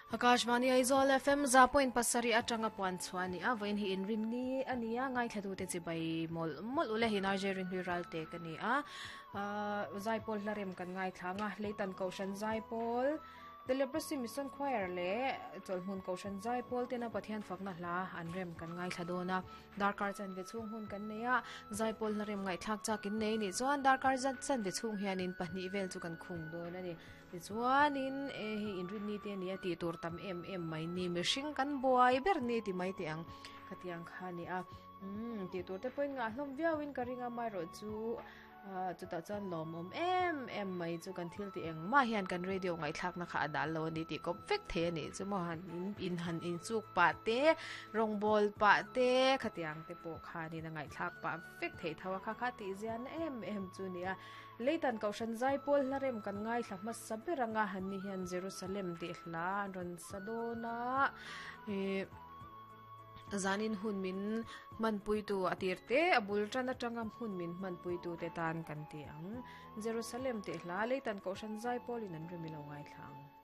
Akashvani Aizawl FM 100.7 atanga puan chhuah a ni a, vawiin hi inrinni a ni a, ngaithlatute chibai mawlh mawlh ule hi Narje Rinhlui Ralte ka ni a, Zaipawl hla rem kan ngaithla ang a, Leitan Kohhran Zaipawl, The Leprosy Mission Choir leh Chawlhmun Kohhran Zaipawl tena Pathian fakna hla an rem kan ngaithla dawn a, darkar chanve chhung hun kan nei a, Zaipawl hla rem ngaihthlak chak in nei nih chuan darkar chanve chhung hianin pahnih vel chu kan khung dawn a ni. Tichuanin e hei inrinni te ania tih tur tam em em mai ni mihring kan buai ber ni ti mai teh ang khatiang kha a ni a umm tih tur te pawhin ngah hlawm viauin ka ring a amaherawh chu ah chutah chuan lawmawm em em mai chu kan thil tih engmah hian kan radio ngaihthlakna kha a dal lo a ni tih kawp vek thei a nih chu maw han in in han inchuk pah te rawngbawl pah te khatiang te pawh khanin a ngaihthlak pah vek theih tho a kha kha tih ziahna em em chu a ni a. Leitan Kohhran Zaipawl hla rem kan ngaithla hmasa ber anga han ni hian Jerusalem tih hla an rawn sa dawn a, ih zanin hun min hmanpuitu a tir te a bul tan atanga hun min hmanpuitu te tan kan ti ang. Jerusalem tih hla Leitan Kohhran Zaipawl in an rem i lo ngaithla ang.